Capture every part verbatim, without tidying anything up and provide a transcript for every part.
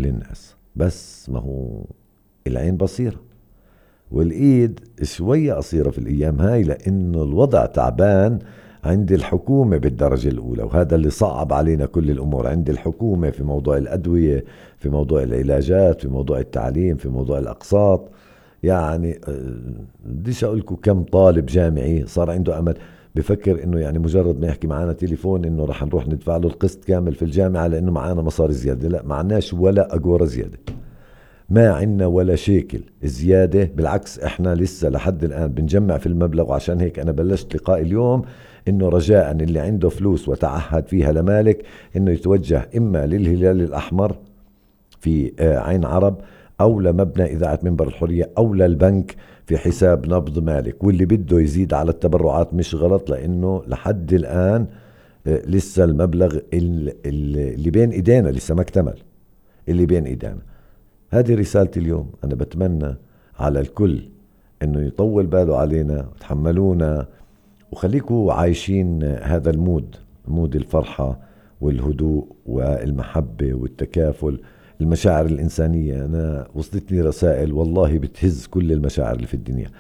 كل الناس، بس ما هو العين بصيرة والإيد شوية قصيرة في الأيام هاي، لأنه الوضع تعبان عند الحكومة بالدرجة الأولى، وهذا اللي صعب علينا كل الأمور عند الحكومة في موضوع الأدوية، في موضوع العلاجات، في موضوع التعليم، في موضوع الأقساط. يعني بديش أقولكم كم طالب جامعي صار عنده أمل بفكر إنه يعني مجرد ما يحكي معنا تليفون إنه رح نروح ندفع له القسط كامل في الجامعة لأنه معانا مصاري زيادة. لا، معناش ولا أجورة زيادة، ما عنا ولا شيكل زيادة، بالعكس احنا لسه لحد الآن بنجمع في المبلغ. وعشان هيك أنا بلشت لقاء اليوم إنه رجاء اللي عنده فلوس وتعهد فيها لمالك إنه يتوجه إما للهلال الأحمر في عين عرب، أو لمبنى إذاعة منبر الحرية، أو للبنك في حساب نبض مالك. واللي بده يزيد على التبرعات مش غلط، لأنه لحد الآن لسه المبلغ اللي بين إيدينا لسه ما اكتمل، اللي بين إيدينا. هذه رسالتي اليوم. أنا بتمنى على الكل إنه يطول باله علينا وتحملونا، وخليكوا عايشين هذا المود، مود الفرحة والهدوء والمحبة والتكافل، المشاعر الإنسانية. أنا وصلتني رسائل والله بتهز كل المشاعر اللي في الدنيا،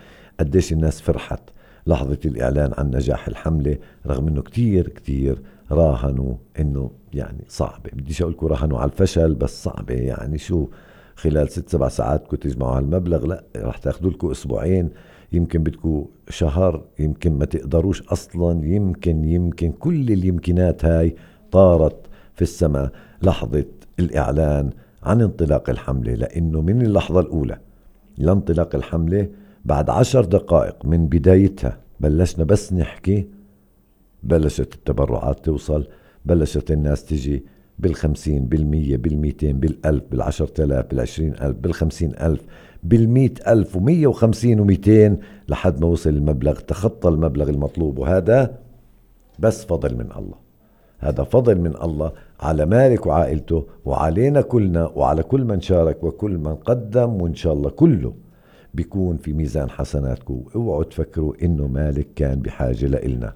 قديش الناس فرحت لحظة الإعلان عن نجاح الحملة، رغم أنه كتير كتير راهنوا أنه يعني صعبة. بديش أقولكوا راهنوا على الفشل، بس صعبة. يعني شو خلال ست سبع ساعات كنت تجمعوا هالمبلغ؟ لا، رح تاخدوا لكم أسبوعين، يمكن بدكم شهر، يمكن ما تقدروش أصلا، يمكن يمكن كل اليمكنات هاي طارت في السماء لحظة الإعلان عن انطلاق الحملة. لأنه من اللحظة الأولى لانطلاق الحملة بعد عشر دقائق من بدايتها بلشنا بس نحكي، بلشت التبرعات توصل، بلشت الناس تجي بالخمسين بالمية بالميتين بالألف بالعشر تلاف بالعشرين ألف بالخمسين ألف بالمئة ألف ومية وخمسين وميتين لحد ما وصل المبلغ، تخطى المبلغ المطلوب. وهذا بس فضل من الله، هذا فضل من الله على مالك وعائلته وعلينا كلنا وعلى كل من شارك وكل من قدم، وإن شاء الله كله بيكون في ميزان حسناتكم. اوعوا تفكروا إنه مالك كان بحاجة لإلنا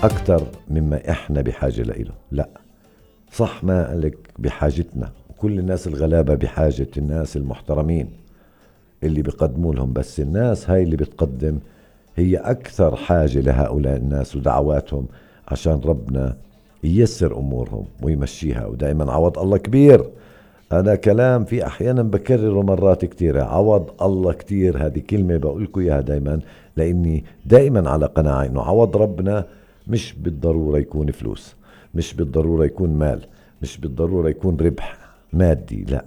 أكتر مما إحنا بحاجة لإله. لا صح، مالك بحاجتنا، وكل الناس الغلابة بحاجة الناس المحترمين اللي بيقدموا لهم، بس الناس هاي اللي بتقدم هي أكثر حاجة لهؤلاء الناس ودعواتهم عشان ربنا ييسر أمورهم ويمشيها. ودائما عوض الله كبير. أنا كلام في أحيانا بكرره مرات كتيرة، عوض الله كتير. هذه كلمة بقولكم إياها دائما، لأني دائما على قناعة إنه عوض ربنا مش بالضرورة يكون فلوس، مش بالضرورة يكون مال، مش بالضرورة يكون ربح مادي. لا،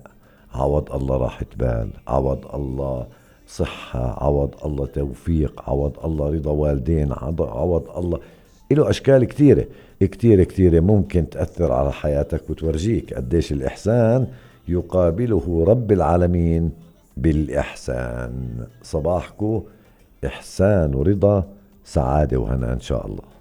عوض الله راحة بال، عوض الله صحة، عوض الله توفيق، عوض الله رضا والدين، عوض الله له أشكال كتيرة كتيرة كتيرة ممكن تأثر على حياتك وتورجيك قديش الإحسان يقابله رب العالمين بالإحسان. صباحكو إحسان ورضا، سعادة وهنا إن شاء الله.